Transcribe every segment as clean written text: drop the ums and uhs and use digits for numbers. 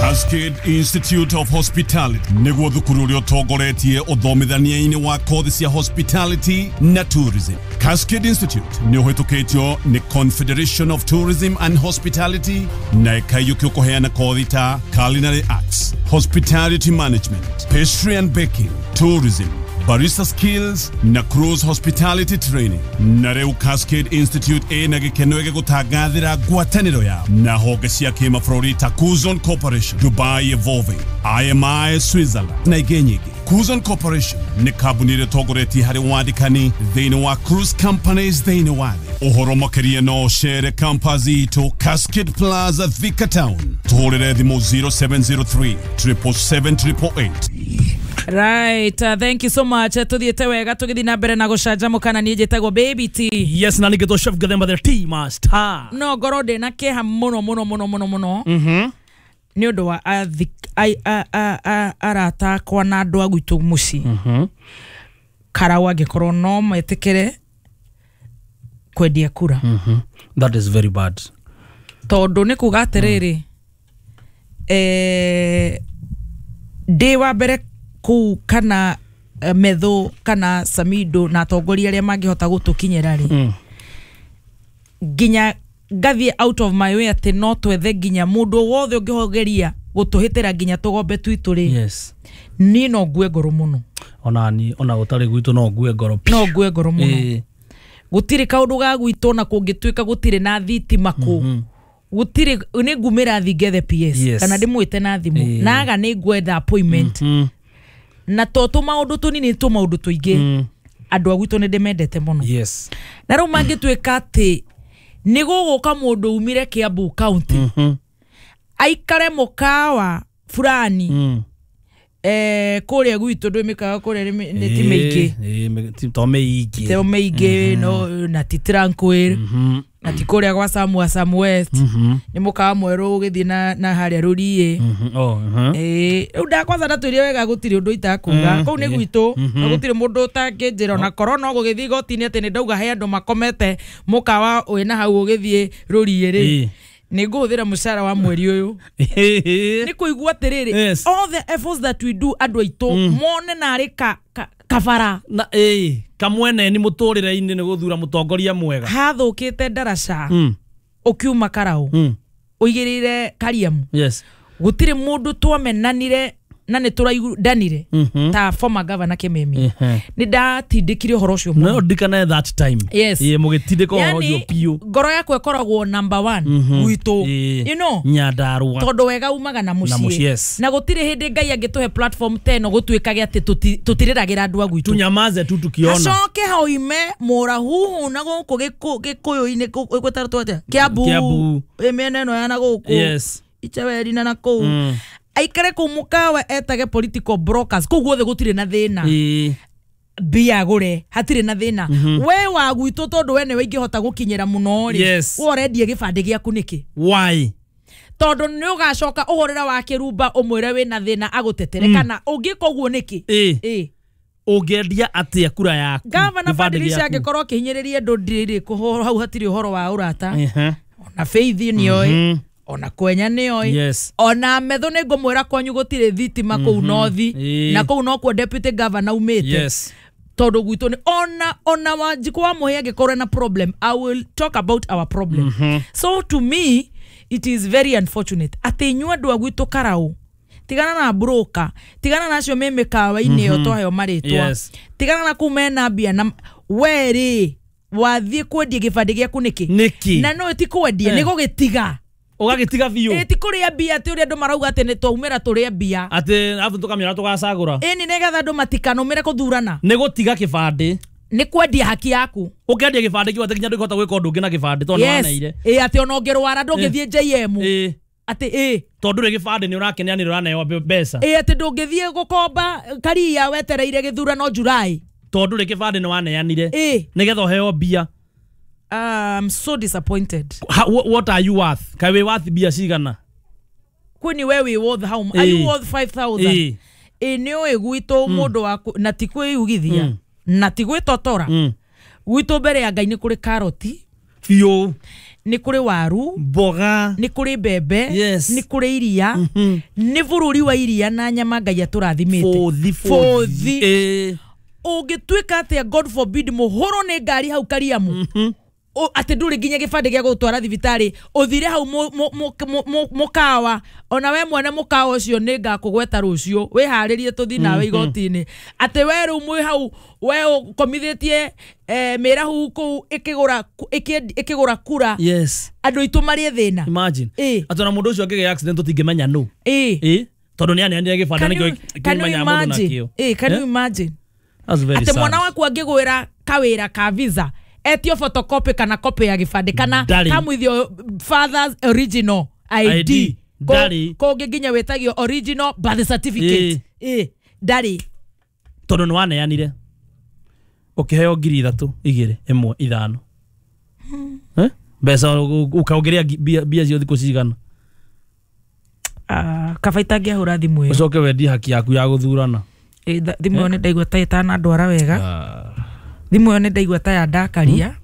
Cascade Institute of Hospitality nĩguo thukuru ũrĩa ũtongoretie ũthomithania-inĩ wa kothi cia hospitality na tourism. Cascade Institute nĩ ũhĩtũkĩtio nĩ Confederation of Tourism and Hospitality na ĩkaiyũkio kũheana kothi ta culinary arts, hospitality management, pastry and baking, tourism, barista skills na cruise hospitality training. Na rĩu Cascade Institute ĩna gĩkeno gĩgũtangathĩra ngwatanĩro yao na honge cia kĩmabũrũri ta Kuzon Corporation, Dubai Evolving, IMI Switzerland na ingĩ nyingĩ. Kuzon Corporation nĩ kambuni ĩrĩa ĩtongoretie harĩ wandĩkani thĩinĩ wa cruise companies thĩinĩ wa thĩ. Ũhoro makĩria no ũcere campus itũ Cascade Plaza, Thika Town. Tũhũrĩre thimũ 0703 777 888. Right, thank you so much. Tuthiĩte wega tũgĩthiĩ na mbere na gũcanjamũka na niĩ njĩtagwo Baby T. Yes, na nĩngĩtwo Chef Gathemba the Tea Master. No ngorwo ndĩ na kĩeha mũno mũno mũno mũno mũno nĩ ũndũ wa arata akwa na andũ a gwitũ mũciĩ Karau angĩkorwo no metĩkĩre kwendia kura. That is very bad. Tondũ nĩ kuga atĩrĩrĩ, ndĩ wa mbere kũu kana Methu kana Samido na atongoria arĩa mangĩhota gũtũkinyĩra rĩ, nginya ngathiĩ out of my way atĩ no twethe nginya mũndũ wothe ũngĩhogeria gũtũhĩtĩra nginya tũgombe twitũ rĩ, niĩ no ngue ngoro mũno. Ona ni ona gũtarĩ gwitũ no ngue ngoro. No ngue ngoro mũno. Gũtirĩ kaũndũ ga gwitũ na kũngĩtuĩka gũtirĩ na thitima kũu, gũtirĩ, nĩ ngumĩra thi ngethe PS kana ndĩmwĩte na thimũ naga nĩ ngwetha appointment na to tũmaũndũ tũnini, tũmaũndũ tũingĩ. Andũ a gwitũ nĩ ndĩmendete mũno. Na rĩu mangĩtuĩka atĩ nĩ gũgũka mũndũ umire Kiambu County aikare mũkawa fulani kũrĩa gwitũ, ndũĩ mĩkawa kũrĩa nĩ ti mĩingĩ. To mĩingĩ. Teo mĩingĩ no na ti Tranquil na ti kũrĩa gwa Samwa, Sam West, nĩ mũkawa mwerũ ũgĩthiĩ na harĩa Rũriĩ. Oh, Ĩĩ, rĩu ndakwanza ndatwĩrie wega gũtirĩ ũndũ itakuga kũu nĩ gwitũ na gũtirĩ mũndũ ũtangĩnjĩra ona korwo no gũgĩthiĩ igoti-inĩ atĩ nĩ ndauga he andũ makomete mũkawa wĩna hau ũgĩthiĩ Rũriĩ rĩ, nĩ ngũhũthĩra mũcara wa mweri ũyũ nĩ kũigua atĩrĩrĩ, all the efforts that we do, andũ aitũ mone narĩ kabara Na ĩĩ kamwene nĩ mũtũrĩre-inĩ nĩ gũthura mũtongoria mwega. Hathũkĩte ndaraca ũkiuma Karau ũigĩrĩire Kariamu, gũtirĩ mũndũ twamenanire na nĩ tũraiguanire ta former governor Kimemi. Nĩ ndatindĩkire ũhoro ũcio No mũno. ndikane that time. Yes. Ĩĩ, mũgĩtindĩka ũhoro ũcio biũ. Ngoro yakwa ĩkoragwo number one gwitũ Nyandarua. Tondũ wega umaga na Na mũciĩ, mũciĩ. Na gũtirĩ hĩndĩ Ngai angĩtũhe platform ta ĩno gũtuĩkage atĩ tũtirĩragĩra andũ a gwitũ. Tunyamaze tu tukiona. Hacoke hoime mũrahuhu na gũkũ gĩkũyũ-inĩ gwĩtarwo atĩa, Kiambu. Kiambu. Ĩ mĩena ĩno ya na gũkũ Ichaweri na kũu, aikare kũu mũkawa etage political brokers kũu guothe gũtirĩ na thĩna, mbia agũre hatirĩ na thĩna, we wa gwitũ tondũ we nĩwe ingĩhota gũkinyĩra mũno rĩ, we ũrendia gĩbandĩ gĩaku nĩkĩ? Why? Tondũ nĩ ũgacoka ũhũrĩre wa kĩrumba ũmwĩre wĩna thĩna agũtetere kana ũngĩka ũguo nĩkĩ? Ĩ. Ũngĩendia atĩa kura yaku? Gavana Gĩbandĩ Badilisha gĩaku? angĩkorwo akĩhinyĩrĩria andũ ndirĩ kũhoro hau hatirĩ ũhoro wa ũrata. Ona Faith nĩoĩ, ona Kwenya nĩoĩ, ona Methu nĩ ngũmwĩra kwanyu gũtirĩ thitima kũu nothi na kũu nokuo deputy governor umĩte. Tondũ gwitũ nĩ ona Wanjikũ wa Mũhĩa angĩkorwo na problem, I will talk about our problem. So to me it is very unfortunate atĩ inyuĩ andũ a gwitũ Karau, tigana na broker, tigana na acio me mĩkawa-inĩ ĩyo twaheo marĩtwa, tigana na kũu mena mbia, na we rĩ wathiĩ kwendia gĩbandĩ gĩaku nĩkĩ? Nĩkĩ? Na no ti kwendia, nĩ gũgĩtiga. Ũgagĩtiga biũ. Ĩ ti kũrĩa mbia atĩ ũrĩa andũ marauga atĩ nĩ twaumĩra tũrĩe mbia. Atĩ arabu tũkamĩona tũgacagũra. Ĩni nĩgetha andũ matikanũmĩre kũthurana. Nĩ gũtiga kĩbandĩ. Nĩ kwendia haki yaku. Ũkendia gĩbandĩ kĩu atĩ nginya ndũngĩhota gwĩka ũndũ ũngĩ na gĩbandĩ tondũ nĩwaneire. Ĩ atĩ ona ũngĩrwara ndũngĩthiĩ JM atĩ ĩ Tondũ rĩ gĩbandĩ nĩ ũrakeneanĩra ũraneo mbeca. Ĩ atĩ ndũngĩthiĩ gũkomba karia wetereire gĩthurano July. Tondũ rĩ gĩbandĩ nĩ waneanire nĩgetha ũheo mbia. I'm so disappointed. What are you worth? Kaĩ wĩ worth mbia cigana? Kwini we wĩ worth how are you worth 5000? Ĩ nĩ ũĩ gwitũ mũndũ wa na ti kwĩyugithia na ti gwĩtotora, gwitũ mbere ya Ngai nĩ kũrĩ karoti. Biũ. Nĩ kũrĩ waru, mboga, nĩ kũrĩ mbembe, Yes. nĩ kũrĩ iria, nĩ bũrũri wa iria na nyama Ngai atũrathimĩte. Bũthi. Bũthi. Ĩĩ. Ũngĩtuĩka atĩa, God forbid, mũhũrwo nĩ ngari hau Kariamu, atĩ ndũrĩ nginya gĩbandĩ gĩa gũgũtwara thibitarĩ, ũthire hau mũkawa, ona we mwene mũkawa ũcio nĩ ngakũgweta rũciũ, wĩharĩrie tũthiĩ nawe igoti-inĩ, atĩ we rĩu mwĩ hau we ũkomithĩtie mĩrahu kũu ĩkĩgũra kura, Yes. andũ aitũ marĩ thĩna. Imagine. Ĩĩ. Atĩ ona mũndũ ũcio angĩgĩa accident tũtingĩmenya nũ. Ĩĩ. Ĩĩ. Tondũ nĩ aneanire gĩbandĩ Can nĩkĩo can you kĩmenyaga mũndũ imagine? nakĩo. Ĩĩ, can you Eh? imagine? That's very Atĩ sad. mwana waku angĩgwĩra kawĩra ka visa, etio photocopy kana copy ya gĩbandĩ kana Ndarĩ. kamwithio father's original ID, ID. Ndarĩ. Kũngĩ nginya wĩtagio original birth certificate. Ĩĩ, ndarĩ. Tondũ nĩ waneanire ũkĩheo 3,000 2 1 5. Eh? Mbeca ũkaongerea mbia cio thikũ cigana. Kaba itangĩahũra thimũ ĩyo. Ũcoke wendie haki yaku ya gũthurana. Ĩĩ, thimũ ĩyo nĩ ndaigua ta ĩtanandwara wega. Thimũ ĩyo nĩ ndaigua ta yandakaria.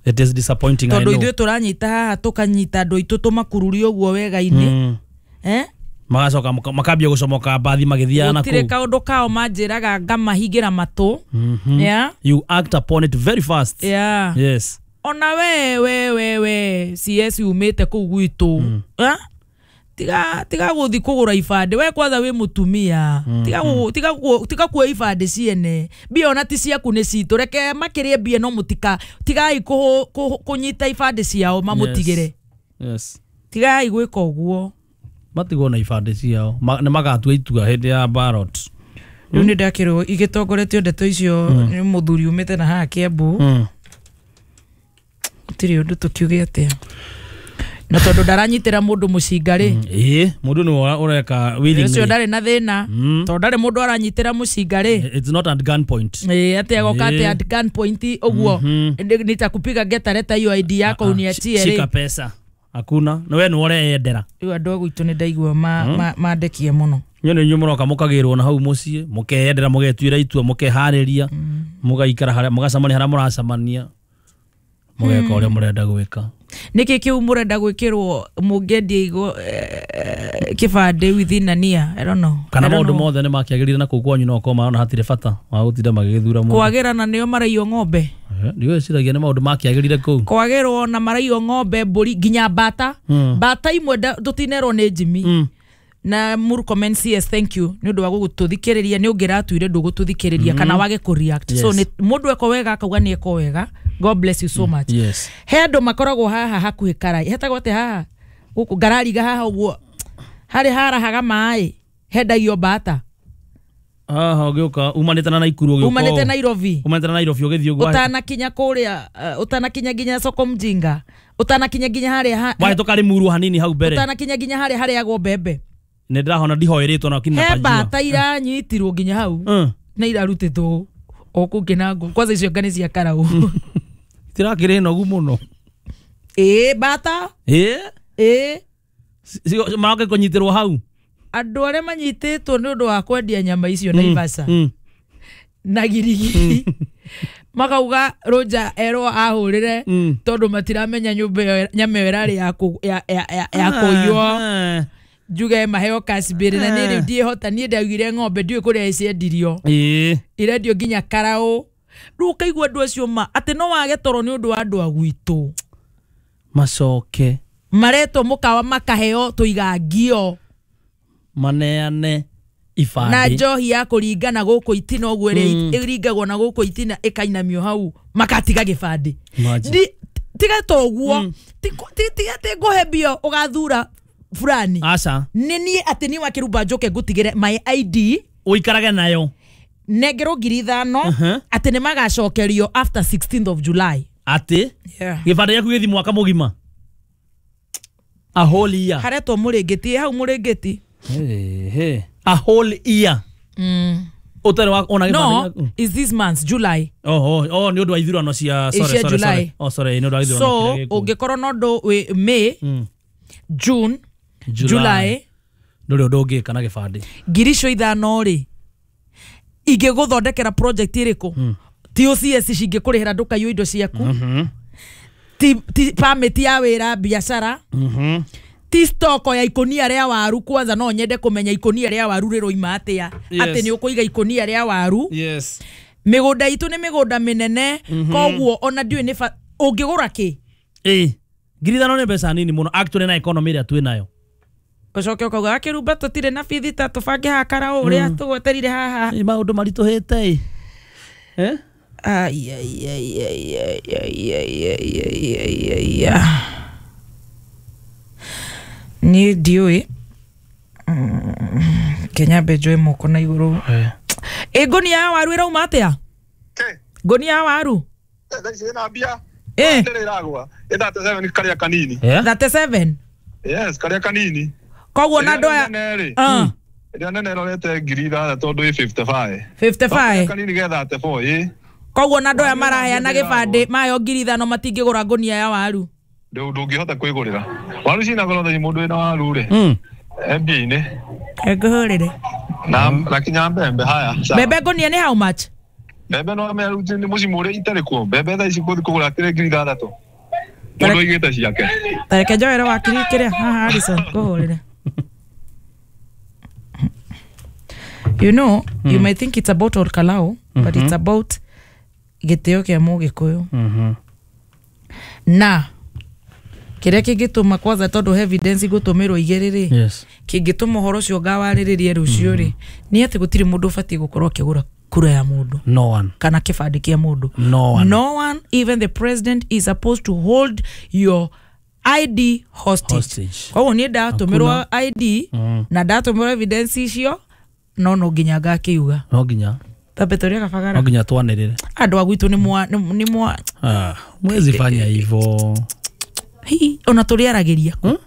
It is disappointing, I Tondũ know. ithuĩ tũranyita haha tũkanyita andũ aitũ tũmakururie ũguo wega-inĩ. Eh? Magacoka makambia gũcomoka mbathi magĩthiaga na Gũtirĩ kũu. kaũndũ kao manjĩraga ngamahingĩra matũ. Yeah? You act upon it very fast. Yeah. Yes. Ona we we we we CS umĩte kũu gwitũ. Eh? Tiga gũthi kũgũra ibandĩ, we kwanza wĩ mũtumia, tiga kuoya ibandĩ ciene, mbia ona ti ciaku nĩ citũ, reke makĩrĩe mbia no mũtika, tigai kũnyita ibandĩ ciao mamũtigĩre. Yes. Tigai gwĩka ũguo. Matigwo na ibandĩ ciao. Nĩ magatua itua hĩndĩ ya ballot. Rĩu nĩ ndakĩrwo igĩtongoretio ndeto icio nĩ mũthuri umĩte na haha Kiambu. Gũtirĩ ũndũ tũkiuge atĩa, na tondũ ndaranyitĩra mũndũ mũcinga rĩ, Ĩĩ, mũndũ nĩwe ũreka willingly. ũcio ndarĩ na thĩna, tondũ ndarĩ mũndũ aranyitĩra mũcinga rĩ. It's not at gun point. Ĩĩ, atĩ agoka atĩ at gun point ũguo, nitakupiga ngeta, leta hiyo ID yako uniachie Shika rĩ. pesa. Hakuna. Na we nĩwe ũreyendera. Rĩu andũ a gwitũ nĩ ndaigua mandekie mũno. Inyuĩ nĩ inyuĩ mũroka mũkagĩrwo na hau mũciĩ, mũkeyendera, mũgetuĩra itua, mũkeharĩria, mũgaikara harĩa mũgacemania harĩa mũracemania, mũgeka ũrĩa mũrenda gwĩka. Nĩkĩ kĩu mũrenda gwĩkĩrwo mũngĩendia igo kĩbandĩ within a year? I don't know. Kana I don't maũndũ know. mothe nĩ makĩagĩrire na kũu kwanyu no korwo marona hatirĩ bata wa gũtinda magĩgĩthura mũndũ. Kwagĩra na nĩo maraiywo ng'ombe. Ndigwĩciragia nĩ maũndũ makĩagĩrire kũu. Kwagĩrwo na maraiywo ng'ombe, mbũri, nginya mbata. Mbata imwe tũtinerwo nĩ Jimmy. Na Murkomen CS, thank you nĩ ũndũ wa gũgũtũthikĩrĩria, nĩ ũngĩratuire ndũgũtũthikĩrĩria kana wage kũ react. So Yes. nĩ mũndũ eko wega akauga nĩ eko wega. God bless you so much. Yes. He andũ makoragwo haha hakuhĩ karai, hetagwo atĩa haha gũkũ ngarariga haha ũguo harĩ harahaga maĩ hendagio mbata. Haha ũgĩũka umanĩte na Naikuru ũgĩũka Umanĩte ũũ. Nairobi. Umanĩte na Nairobi ũgĩthiĩ ũguo. Ũtanakinya kũrĩa, ũtanakinya nginya soko mjinga, ũtanakinya nginya harĩa Wahĩtũka Limuru hanini hau mbere. Ũtanakinya nginya harĩa harĩagwo mbembe. Nĩ ndĩrahona ndihoĩrĩtwo na kinya He pajua. mbata iranyitirwo nginya hau na irarutĩtwo o kũu kĩnango, kwanza icio nga nĩ cia karau. Itirakĩrĩ nogu mũno. Ĩĩ, mbata. Ĩĩ. Ĩĩ. Maroke kũnyitĩrwo hau. Andũ arĩa manyitĩtwo nĩ ũndũ wa kwendia nyama icio Naivasha na girigiri makauga Roger erwo ahũrĩre tondũ matiramenya nyũmba ĩyo nyama ĩyo ĩrarĩ ya kũiywo, njuge maheo cash bail, na niĩ rĩu ndiĩhota, niĩ ndaugire ng'ombe ndiũĩ kũrĩa iciendirio. Ĩĩ. Irendio nginya karaũ. Rĩu ũkaigua andũ acio ma atĩ no wage toro nĩ ũndũ wa andũ a gwitũ. Macoke Maretwo mũkawa makaheo tũigangio maneane ibandĩ na njohi ya kũringana gũkũ itina ũguo ĩrĩa ĩringagwo na gũkũ itina ĩkainamio hau makatiga gĩbandĩ. Imagine. Tiga ta ũguo, tiga atĩ ngũhe mbia ũgathura fulani. Aca. Nĩ niĩ atĩ niĩ wakĩrumba njoke ngũtigĩre my ID ũikarage nayo, nengerwo 5,000 atĩ nĩ magacokerio after 16th of July. Atĩ Yeah. gĩbandĩ gĩaku gĩthi mwaka mũgima, a whole year. Haretwo mũrĩngĩti, hau mũrĩngĩti. Hey, a whole year ũtarĩ wa ona gĩbandĩ No, gĩaku. is this month July. Oh, nĩ ũndũ wa ithurano cia, sorry, Cia sorry, July. sorry. Oh, sorry, nĩ ũndũ wa ithurano So kĩrĩa gĩkuo. ũngĩkorwo na ũndũ wĩ May, June, July. July, Ndũrĩ ũndũ ũngĩka na gĩbandĩ. 5,000 rĩ ingĩgũthondekera project ĩrĩkũ? Ti OCS cingĩkũrĩhĩra ndũkaiywo indo ciaku. Ti permit ya wĩra biacara. Ti stoko ya ikonia rĩa waru kwanza no nyende kũmenya ikonia rĩa waru rĩroima atĩa. Atĩ nĩ ũkũiga ikonia rĩa waru. Yes. Mĩgũnda itũ nĩ mĩgũnda mĩnene koguo ona ndiũĩ nĩ ũngĩgũra kĩ. 5,000 nĩ mbeca nini mũno actually na economy ĩrĩa twĩ nayo. Ũcoke ũkauga akĩrumba tũtirĩ na bithi ta tũbange haha karaũ ũrĩa tũgweterire haha. Maũndũ maritũhĩte. Ai ai ai ai ai ai ai ai ai ai. Niĩ ndiũĩ Kenya mbe njoe moko na igũrũ. Ngũnia ya waru ĩrauma atĩa? Ngũnia ya waru ĩna mbia ĩragwa ĩ 37 karĩa kanini. 37? Yes, karĩa kanini. Koguo na andũ aya ĩrĩa nene ĩrorete 6,000 tondũ ĩ 55. 55. Kanini ge 34. Koguo na andũ aya maraheana gĩbandĩ mayo 5,000 matingĩgũra ngũnia ya waru. Ndũngĩhota kwĩgũrĩra waru cina goro thaa mũndũ wĩna waru rĩ mbia-inĩ ngũhũrĩre na kinya mbembe haya. Mbembe ngũnia nĩ how much? Mbembe no nĩ mũciĩ ũrĩa itarĩ kuo mbembe thaa ici gũthiĩ kũgũra kĩrĩ 6,000 mũndũ aigĩte ciake. Tareke njoere wakiri kĩrĩa haha Harrison ngũhũrĩre. You know, you may think it's about Olkalou, but it's about gĩtĩo kĩa Mũgĩkũyũ. Na kĩrĩa kĩngĩtũma kwanza tondũ evidence igũtũmĩrwo igĩrĩ rĩ, kĩngĩtũma ũhoro ũcio ngawarĩrĩrie rũciũ rĩ, nĩ atĩ gũtirĩ mũndũ ũbatiĩ gũkorwo akĩgũra kura ya mũndũ. No one. Kana kĩbandĩ kĩa mũndũ. No one. No one, even the president is supposed to hold your ID hostage. Koguo niĩ ndatũmĩrwo ID na ndatũmĩrwo evidence icio no nginya ngakiuga. No nginya. Tambe tũrĩa kabagara. No nginya twanĩrĩre. Andũ a gwitũ nĩ mwa mwezi fanya hivyo. Hi, ona tũrĩaragĩria kũ.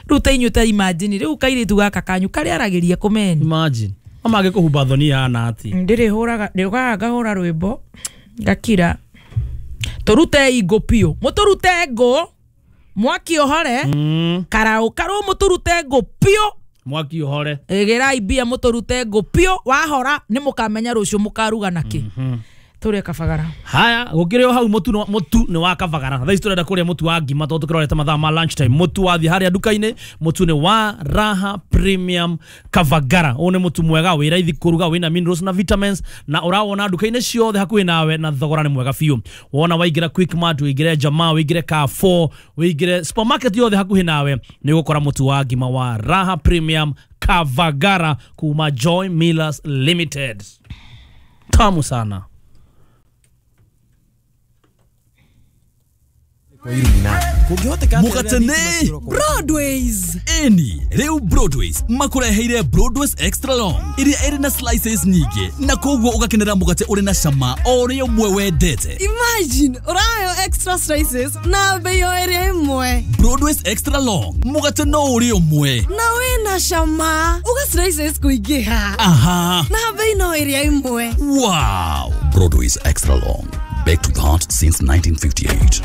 Rĩu ta inyuĩ ta imagine rĩu kairĩtu gaka kanyu karĩaragĩria kũ meni. Imagine. Mangĩkũhumba thoni ihana atĩa? Ndĩrĩhũraga ndĩũkaga ngahũra rwĩmbo ngakira. Tũrute ingũ piũ. Mũtũrute ngũ mwaki ũhore. Karaũ karũ mũtũrute ngũ piũ. Mwaki ũhore. Ĩgĩrai mbia mũtũrute ngũ piũ wahora nĩ mũkamenya rũciũ mũkaruga nakĩ. Tũrĩe kabagara. Haya gũkĩrĩ o hau mũtu nĩ wa kabagara. Thaa ici tũrenda kũrĩa mũtu wa ngima tondũ tũkĩrorete mathaa ma lunch time. Mũtu wathiĩ harĩa nduka-inĩ, mũtu nĩ wa Raha Premium Kabagara. Ũyũ nĩ mũtu mwega wĩ raithi kũruga, wĩna minerals na vitamins na ũrawona nduka-inĩ ciothe hakuhĩ nawe na thogora nĩ mwega biũ. Wona waingĩra Quickmart, ũingĩre Jamaa, ũingĩre Carrefour, ũingĩre supermarket yothe hakuhĩ nawe nĩ ũgũkora mũtu wa ngima wa Raha Premium Kabagara kuma Joy Millers Limited. Tamu sana. Mũgatene Broadways. Eni rĩu Broadways makũreheire Broadways Extra Long ĩrĩa ĩrĩ na slices nyingĩ na koguo ũgakenera mũgate ũrĩ na cama o ũrĩa ũmwe wendete. Imagine ũrayo extra slices na bei o ĩrĩa ĩmwe. Broadways Extra Long mũgate no ũrĩa ũmwe na wĩna cama uga slices kũingĩha. Aha. Na bei no ĩrĩa ĩmwe. Wow. Broadways Extra Long, baked with heart since 1958.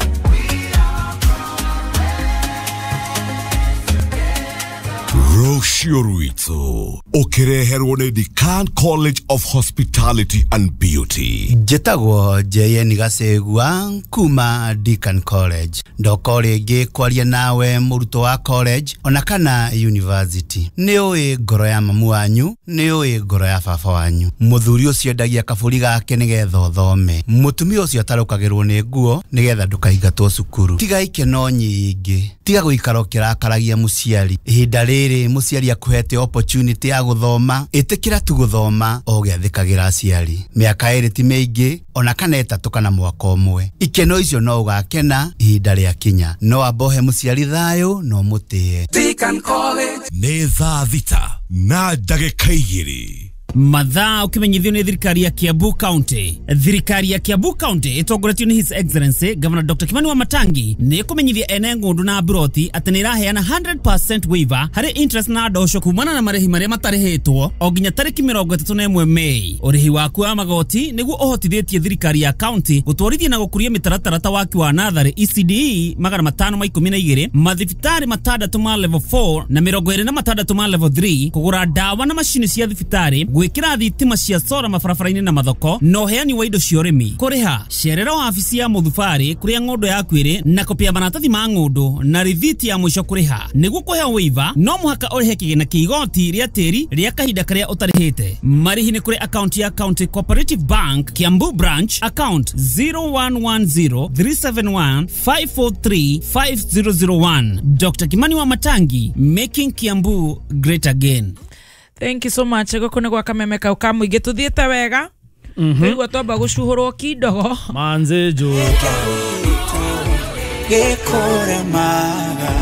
Rũciũ rwitũ ũkĩreherwo nĩ Decan College of Hospitality and Beauty. Njĩtagwo JN Gacegua kuma Decan College. Ndoka rĩngĩ kwaria nawe mũrutwo wa college ona kana university. Nĩ ũĩ ngoro ya mamu wanyu, nĩ ũĩ ngoro ya baba wanyu. Mũthuri ũcio endagia kabũri gake nĩgetha ũthome. Mũtumia ũcio atarũkagĩrwo nĩ nguo nĩgetha ndũkaingatwo cukuru. Tiga ikeno nyingĩ, tiga gũikara ũkĩrakaragia mũciari. Ihinda rĩrĩ mũciari akuhete opportunity ya gũthoma, ĩtĩkĩra tu gũthoma o ũgĩathĩkagĩra aciari. Mĩaka 2 ti mĩingĩ ona kana 3 kana mwaka ũmwe. Ikeno icio no ũgakena ihinda rĩakinya. No ambohe mũciari thayũ no mũtĩe. Decan College. Nĩ thaa 6:02. Mathaa ukimenyithio nĩ thirikari ya Kiambu County. Thirikari ya Kiambu County ĩtongoretio nĩ His Excellency Governor Dr. Kimani Wamatangi nĩ ĩkũmenyithia ene ng'ũndũ na mburoti atĩ nĩ ĩraheana 100% waiver harĩ interest na ndosho kumana na marĩhi marĩa matarĩhĩtwo o nginya tarĩki 31 Mei. Ũrĩhi waku wa magoti nĩguo ũhotithĩtie thirikari ya county gũtwarithia na gũkũria mĩtaratara ta waki wa natharĩ ECDE 512, mathibitarĩ 6 ma level 4 na 26 ma level 3, kũgũra ndawa na macini cia thibitarĩ, Gwĩkĩra thitima cia sora mabarabara-inĩ na mathoko na ũheani wa indo cia ũrĩmi. Kũrĩha cerera wabici ya mũthubarĩ kũrĩa ng'ũndũ yaku ĩrĩ na kopi ya maratathi ma ng'ũndũ na rithiti ya mũico kũrĩha. Nĩguo kũheo waiver no mũhaka ũrĩhe kĩgĩna kĩa igoti rĩa tĩri rĩa kahinda karĩa ũtarĩhĩte. Marĩhi nĩ kũrĩ akaunti ya County Cooperative Bank Kiambu Branch, account 01103715435001. Dr. Kimani wa Matangi, making Kiambu great again. Thank you so much. Gũkũ nĩ gwa kameme kau ka mũingĩ tũthiĩte wega. Tũigua twamba gũcuhũrwo kindogo. Manze jo.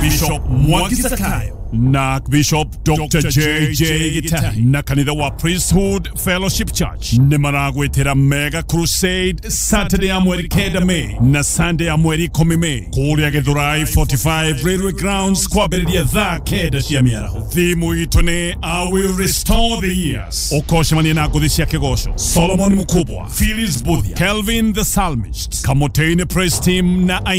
Bishop Mwangi Zakayo na Bishop Dr. JJ Gitari na kanitha wa Priesthood Fellowship Church nĩ maragwĩtĩra Mega Crusade Saturday ya mweri 9 May na Sunday ya mweri 10 May kũrĩa Githurai 45 Railway Grounds kwambĩrĩria thaa 9 cia mĩaraho. Thimu itũ nĩ I will restore the years. Ũkocemania na ngũthi cia kĩgoco Solomon Mukubwa, Phyllis Buthia, Kelvin the Psalmist, Kamotene Praise Team na